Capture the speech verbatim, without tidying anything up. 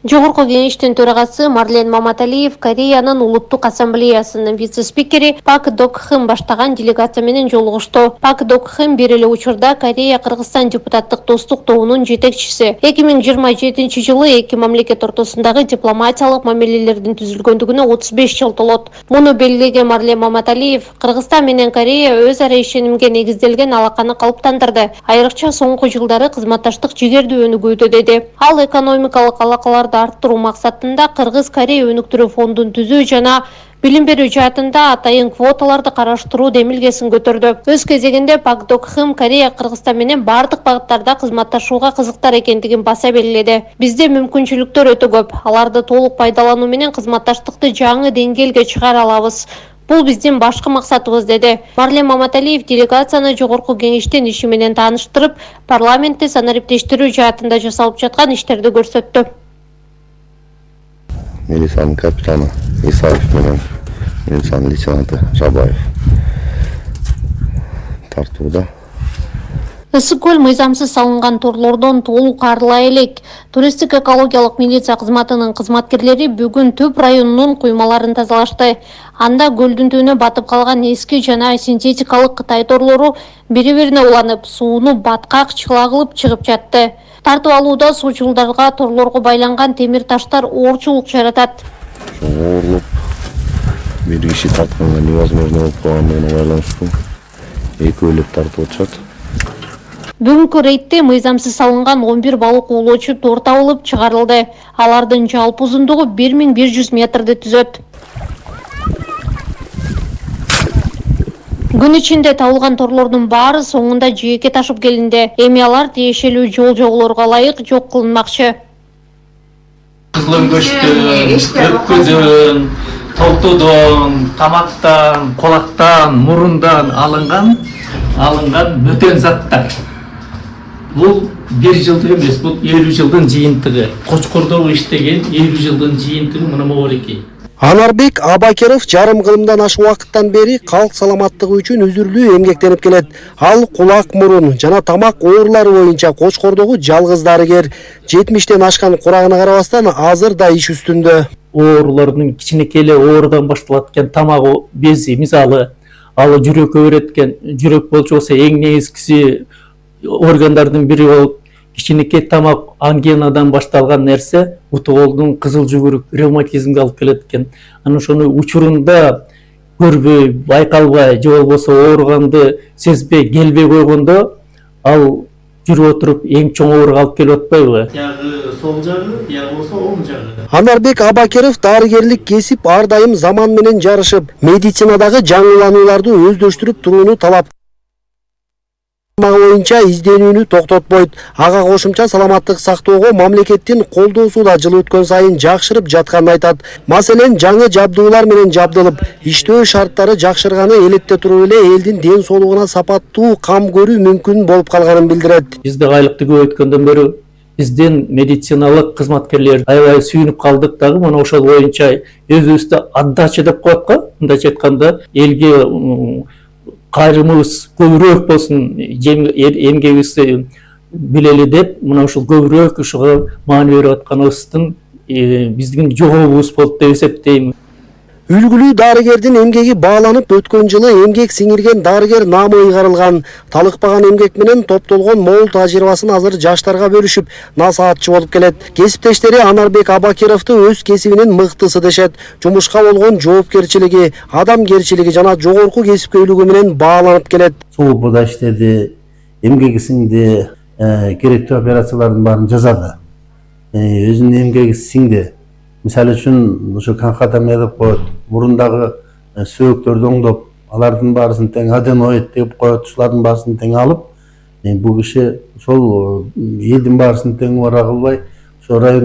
Жогорку кеңештин төрагасы Марлен Маматалиев Кореянын улуттук ассамблеясынын вице-спикери Пак Докхым баштаган делегация менен жолугушту. Пак Докхым бир эле учурда Корея-Кыргызстан депутаттык достук тобунун жетекчиси. эки миң жыйырма жетинчи жылы эки мамлекет ортосундагы дипломатиялык мамилелердин түзүлгөндүгүнө отуз беш жыл толот. Муну белгилеген Марлен Маматалиев Кыргызстан менен Корея өз ара ишенимге негизделген алаканы калыптандырды. Айрыкча соңку жылдары кызматташтык жигердүү өнүгүүдө деди. Ал экономикалык алакаларды арттыруу максатында Кыргыз-Корея өнүктүрүү фондун түзүү жана билим берүү жаатында атайын квоталарды караштыруу демилгесин көтөрдү. Өз кезегинде Пак Докхым Корея Кыргызстан менен бардык багыттарда кызматташууга кызыктар экендигин баса белгиледи. Бизде мүмкүнчүлүктөр өтө көп. Аларды толук пайдалануу менен кызматташтыкты жаңы деңгээлге чыгара алабыз. Бул биздин башкы максатыбыз, деди. Марлен Маматалиев делегацияны жогорку кеңештин иши менен тааныштырып, парламентти санариптештирүү жаатында жасалып жаткан иштерди көрсөттү. Милициянын капитаны Исаев менен милициянын лейтенанты Жабаев тартууда. Ысык көл мыйзамсыз салынган торлордон толук арыла элек. Туристтик экологиялык милиция кызматынын кызматкерлери бүгүн Төп районунун куймаларын тазалашты. Анда көлдүн түбүнө батып калган эски жана синтетикалык Кытай торлору бири-бирине уланып, сууну баткак чыла кылып чыгып жатты. Тартып алууда суучулдарга торлорго байланган темир таштар оорчулук жаратат. Ооруп, бир киши тартканга невозможно болуп калгандыгына байланыштуу эки өлөп тартып атышат. Бүгүнкү рейдте мыйзамсыз салынган он бир балык оолоочу тор табылып чыгарылды. Алардын жалпы узундугу бир миң бир жүз метрди түзөт. Күн ичинде табылган торлордун баары соңунда жээкке ташып келинди. Эми алар тиешелүү жол жоболорго ылайык жок кылынмакчы. Кызылөңгөчтөн, өпкөдөн, толтодон, тамактан, колактан, мурундан алынган алынган бөтөн заттар. Бул бир жылдык эмес, бул элүү жылдын жыйынтыгы. Кочкордогу иштеген элүү жылдын жыйынтыгы мына могулеки. Анарбек Абакеров жарым кылымдан ашык убакыттан бери калк саламаттыгы үчүн үзүрлүү эмгектенип келет. Ал кулак, мурун жана тамак оорулары боюнча Кочкордогу жалгыз дарыгер. жетимиштен ашкан курагына карабастан азыр да иш үстүндө. Оорулардын кичинекей эле оорудан башталат экен, тамак бези, мисалы, ал жүрөккө берет экен. Жүрөк болчу болсо эң негизгиси органдардын бири болуп, кичинекей тамак ангинадан башталган нерсе утуголдун кызыл жүгүрүк ревматизмге алып келет экен. Анан ошону учурунда көрбөй, байкалбай, же болбосо ооруганды сезбей, келбей койгондо ал жүрүп отуруп эң чоң ооруга алып келип атпайбы? Ягы сол жагы, я болсо оң жагы. Анарбек Абакеров дарыгерлик кесип ар дайым заман менен жарышып, медицинадагы жаңыланууларды өздөштүрүп турууну талап боюнча изденүүнү токтотпойт. Ага кошумча саламаттык сактоого мамлекеттин колдоосу да жыл өткөн сайын жакшырып жатканын айтат. Маселен, жаңы жабдуулар менен жабдылып, иштөө шарттары жакшырганы элетте туруп эле элдин ден соолугуна сапаттуу кам көрүү мүмкүн болуп калганын билдирет. Бизде айлыкты көбөйткөндөн бери биздин медициналык кызматкерлер аябай сүйүнүп калдык дагы, мына ошол боюнча өзүбүздө отдача деп коет го. Мындайча айтканда, элге кайрымыбыз көбүрөөк болсун, эмгегибизди билели деп, мына ушул көбүрөөк ушуга маани берип атканыбыздын биздин жообубуз болуп деп эсептейм. Үлгүлүү дарыгердин эмгеги бааланып, өткөн жылы эмгек сиңирген дарыгер наамы ыйгарылган. Талыкпаган эмгек менен топтолгон мол тажрыйбасын азыр жаштарга бөлүшүп, насаатчы болуп келет. Кесиптештери Анарбек Абакеровду өз кесибинин мыктысы дешет. Жумушка болгон жоопкерчилиги, адамгерчилиги жана жогорку кесипкөйлүгү менен бааланып келет. Суупуда иштеди, эмгеги сиңди, керектүү операциялардын баарын жасады. Өзүнүн эмгеги сиңди. Мисалы үчүн ошо канкатомия деп коет, мурундагы сөөктөрдү оңдоп, алардын баарысын тең аденоид деп коет, ушулардын баарысын тең алып, бул киши ошол элдин баарысын тең убара кылбай, ошо район